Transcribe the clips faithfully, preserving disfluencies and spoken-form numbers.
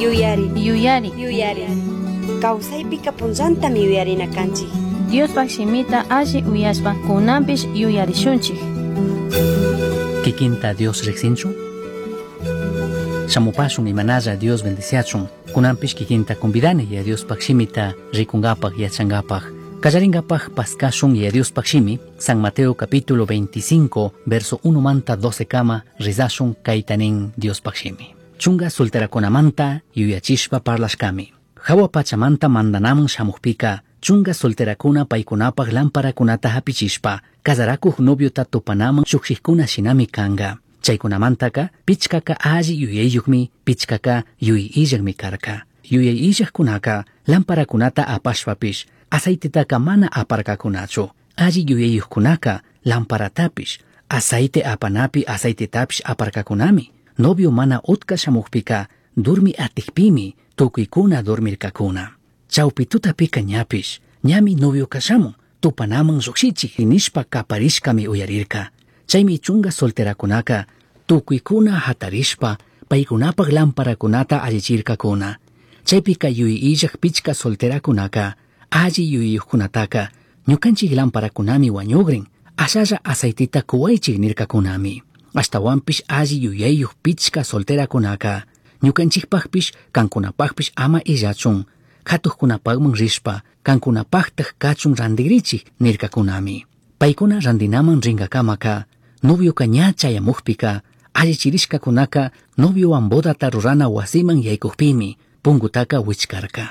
Yuyari. Yuyari. Yuyari. Kawsaypika punllantami yuyarina kanchik. Diospaj shimita alli uyashpa kunanpish yuyarishunchik. Kikinta Dios riqsinchu? Shamupashun imanalla Dios bendiciachun. Kunanpish kikinta convidani ya Diospaj shimita rikunkapaj yachankapaj. Kallaringapaj paskashun ya Diospaj shimi, San Mateo capítulo veinticinco, verso uno manta doce kama, rizashun kaytanin Diospaj shimi. Chunga solterakunamanta yuyachishpa parlashkami. Hawa pachamanta mandanaman shamukpika, chunga solterakuna paykunapaj lamparakunata hapichishpa, kasarakuj noviota tupanaman shukshikuna shinami kanga. Chaykunamantaka pichkaka alli yuyayyukmi, pichkaka yuyillakmi karka. Yuyayillakkunaka lamparakunata apashpapish, aceitetaka mana aparkakunachu. Alli yuyayyukkunaka lamparatapish, aceite apanapi aceitetapish aparkakunami. Novio mana utka shamukpika, durmi atikpimi, tukuykuna dormirkakuna. Chawpi tutapika ñapish, ñami novio kashamun, tupanaman llukshichik nishpa kaparishkami uyarirka. Chaymi chunga solterakunaka, tukuykuna hatarishpa, paykunapaj lamparakunata allichirkakuna. Chaypika yuyillak pichka solterakunaka, alli yuyiyukkunataka, ñukanchik lamparakunami wañugrin, ashalla aceitita kuwaychik nirkakunami. Ashtawanpish alli yuyayuq pichka solterakunaka, ñukanchikpajpish kankunapajpish ama illachun, katuqkunapajman rishpa, kankunapajtaj kachun randigrichik nirkakunami. Paykuna randinaman rinkakamaka, novioka ña chayamukpika, allichirishkakunaka noviowan bodata rurana wasiman yaykukpimi, punkutaka wichkarka.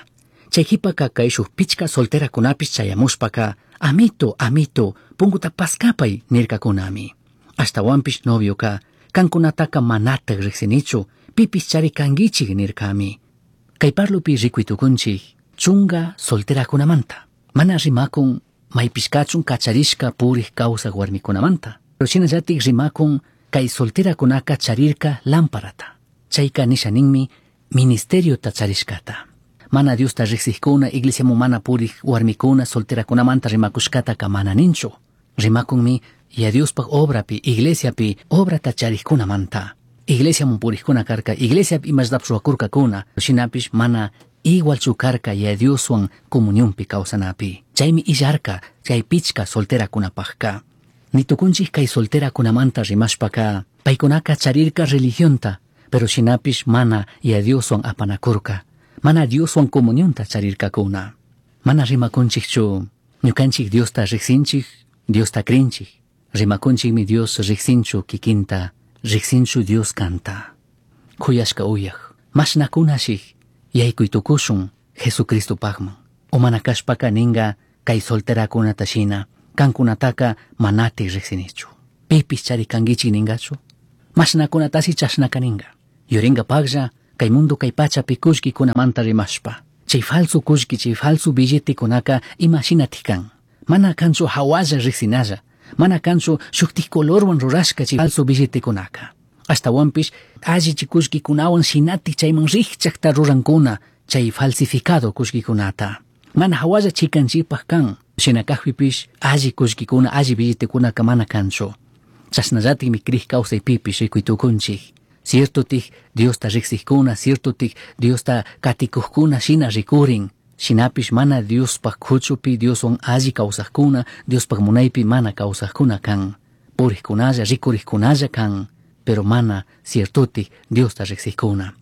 Chay qhipaka kayshuk pichka solterakunapish chayamushpaka, amito, amito, punkuta paskapay nirkakunami. Ashtawanpish novioka, kankunataka manataj riqsinichu, pipis chari kankichik nirkami. Kay parlupi rikuytukunchik, chunga solterakunamanta. Mana rimakun maypishkachun kacharishka purik kawsaq warmikunamanta. Pero shinallatik rimakun kay solterakunaka charirka lamparata. Chayka nisha ninmi ministeriota charishkata. Mana Diosta riqsiqkuna, iglesiaman mana purik warmikuna solterakunamanta rimakushkataka mana ninchu. Rimakunmi ya Diospaj obrapi, iglesiapi obrata charikkunamanta. Iglesiaman purikkuna karka, iglesiapi imashtapish ruwakurkakuna, shinapish mana igualchu karka ya Dioswan comunionpi kawsanapi. Chaymi illarka chay pichka solterakunapajka. Nitukunchik kay solterakunamanta rimashpaka, paykunaka charirka religionta, pero shinapish mana ya Dioswan apanakurka, mana Dioswan comunionta charirkakuna. Mana rimakunchikchu, ñukanchik Diosta riqsinchik, Diosta krinchik. Rimakunchikmi Dios riqsinchu kikinta, riqsinchu Dios kanta. Khuyashka uyaj, mashnakunashik yaykuytukushun Jesucristopajman. O mana kashpaka ninga kay solterakunata shina, kankunataka manati riqsinichu. Pipis chari kankichik ningachu? Mashnakunatashi chashnaka ninga. Yuringapajlla kay mundo kay pachapi kullkikunamanta rimashpa. Chay falso kullki, chay falso billetekunaka imashinatik kan. Mana kanchu hawalla riqsinalla. Mana kanchu shuktik colorwan rurashka chay falso billetekunaka. Ashtawanpish alli chay kullkikunawan shinatik chayman riqchaqta rurankuna chay falsificado kullkikunata. Mana hawalla chikanchikpaj kan. Shina kajpipish alli kullkikuna, alli billetekunaka mana kanchu. Chashnallatikmi kriq kawsaypipish rikuytukunchik. Ciertotik Diosta riqsiqkuna, ciertotik Diosta katikuqkuna shina rikurin. Shinapish mana Diospaj kuchupi, Dioswan alli kawsaqkuna, Diospaj munaypi mana kawsaqkuna kan. Puriqkunalla, rikuriqkunalla kan, pero mana ciertotik Diosta riqsiqkuna.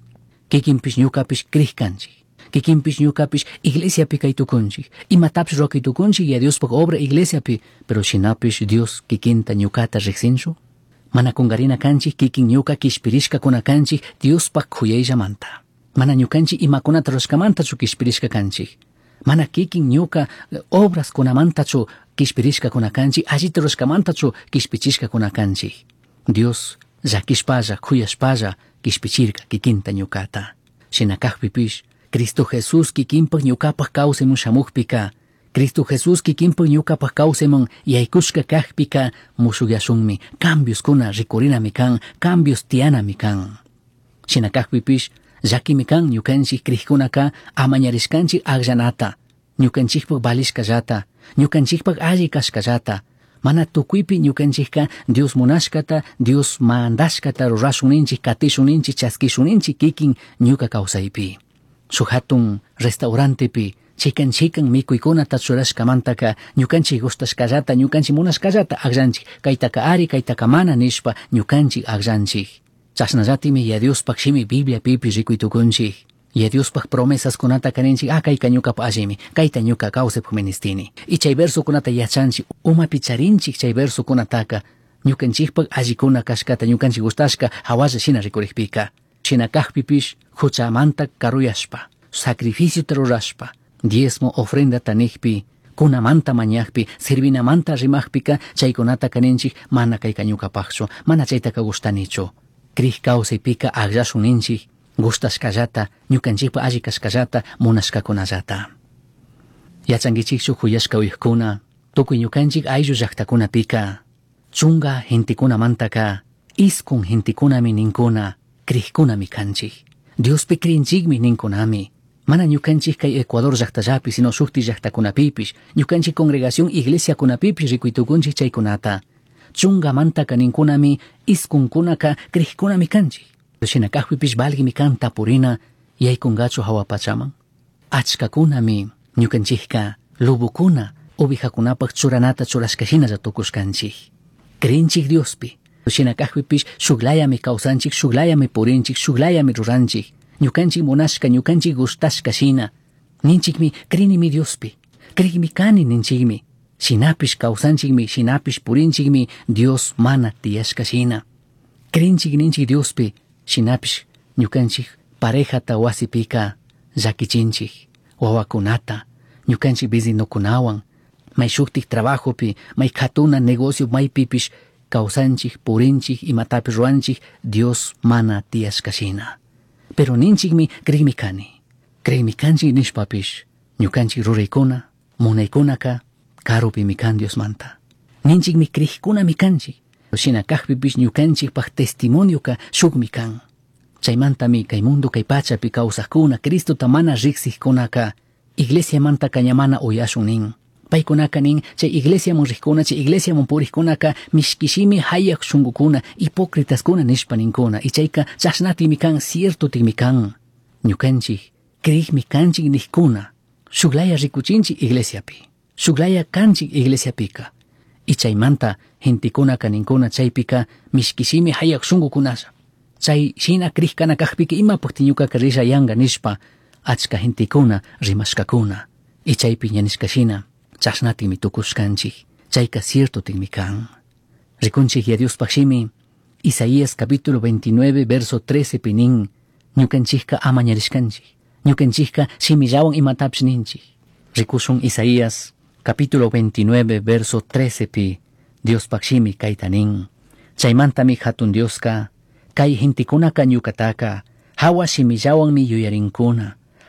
Kikinpish ñukapish kriq kanchik. Kikinpish ñukapish iglesiapi kaytukunchik. Imatapish ruwakuytukunchik ya Diospaj obra iglesiapi, pero shinapish Dios kikinta ñukata riqsinchu? Mana kungarina kanchik kikin ñuka kishpirishkakuna kanchik Diospaj khuyayllamanta. Mana ñukanchik imakunata rurashkamantachu kishpirishka kanchik. Mana kikin ñuka obraskunamantachu kishpirishkakuna kanchik, allita rurashkamantachu kishpichishkakuna kanchik. Dios llakishpalla, khuyashpalla kishpichirka kikinta ñukata. Shina kajpipish, Cristo Jesús kikinpaj ñukapaj kawsayman shamukpika, Cristo Jesús kikinpaj ñukapaj kawsayman yaykushka kajpika mushukyashunmi, cambioskuna rikurinami kan, cambios tiyanami kan. Shina kajpipish, llakimi kan ñukanchik krikkunaka amañarishkanchik akllanata, ñukanchikpaj valishkallata, ñukanchikpaj alli kashkallata, Mana tukuipi ñukanchikka Dios munashkata, Dios mandashkata rurashun ninchik, katishun ninchik, chaskishun ninchik kikin ñuka kawsaypi. Shuk hatun restaurantepi chikan chikan mikuykunata churashkamantaka ñukanchik gustashkallata, ñukanchik munashkallata akllanchik, kaytaka ari, kaytaka mana nishpa ñukanchik akllanchik. Chashnallatimi ya Diospaj shimi Bibliapipi rikuy tukunchik. Ya Diospaj promesaskunata kaninchik, ah kayka ñukapa allimi, kayta ñuka kawsaypaj ministini. Y chay versokunata yachanchik, umapi charinchik chay versokunataka, ñukanchikpaj allikuna kashkata, ñukanchik gustashka hawalla shina rikurikpika. Shina kajpipish huchamanta karuyashpa, sacrificiota rurashpa, diezmo ofrendata nijpi, kunamanta mañajpi, servinamanta rimajpika, chaykunata kaninchik mana kayka ñukapajchu, mana chaytaka gustanichu. Krij kawsaypika akllashun ninchik, gustashkallata, ñukanchikpa alli kashkallata, munashkakunallata. Yachankichikchu huyashka uyajkuna, tukuy ñukanchik ayllu llaktakunapika, chunga gentekunamantaka, iskun gentekunami ninkuna, krijkunami kanchik. Diospi krinchikmi ninkunami. Mana ñukanchik kay Ecuador llaktallapi, sino shukti llaktakunapipish, ñukanchik congregación iglesiakunapipish rikuytukunchik chaykunata. Chungamantaka ninkunami, iskunkunaka krijkunami kanchik. Shina kajpipish valgimi kan tapurina, yaykungachu hawa pachaman. Achkakunami ñukanchikka lobokuna ovejakunapaj churanata churashka shinalla tukushkanchik. Krinchik Diospi. Shina kajpipish shuklayami kawsanchik, shuklayami purinchik, shuklayami ruranchik. Ñukanchik munashka, ñukanchik gustashka shina. Ninchikmi krinimi Diospi. Krikmi kani ninchikmi. Shinapish kawsanchikmi, shinapish purinchikmi Dios mana tiyashka shina. Krinchik ninchik Diospi, shinapish ñukanchik parejata wasipika llakichinchik, wawakunata, ñukanchik vecinokunawan, may shuktik trabajopi, may katuna negocio maypipish kawsanchik, purinchik, imatapish ruranchik, Dios mana tiyashka shina. Pero ninchikmi krikmi kani. Krikmi kanchik nishpapish, ñukanchik ruraykuna, munaykunaka, karupimi kan Diosmanta. Ninchikmi krikkunami kanchik. Shina kajpipish ñukanchikpaj testimonioka shukmi kan. Chaymantami kay mundo kay pachapi kawsajkuna, Cristota mana riksijkunaka, iglesiamantaka ña mana uyashun nin. Paykunaka nin, chay iglesiaman rijkuna, chay iglesiaman purijkunaka, mishkishimi hayaj shunkukuna, hipócritaskuna nishpa ninkuna. Y chayka chashnatimi kan, ciertotimi kan. Ñukanchik, krikmi kanchik nijkuna, shuklaya rikuchinchik iglesiapi, shuklaya kanchik iglesiapika. Y chaymanta gentekunaka ninkuna chaypika mishkishimi hayaj shunkukunalla. Chay shina krikana kajpika imapukti ñukaka risha yanga nishpa, achka gentekuna rimashkakuna. Y chaypi ña nishka shina, chashnatimi tukushkanchik, chayka ciertotimi kan. Rikunchik ya Diospaj shimi, Isaías capítulo veintinueve, verso trece pinin, ñukanchikka amañarishkanchik, ñukanchikka shimillawan imatapish ninchik. Rikushun Isaías capítulo veintinueve, verso trece pi, Diospaj shimi kayta nin. Chaymantami hatun Dioska, kay gentekunaka ñukataka, hawa shimillawanmi yuyarinkuna,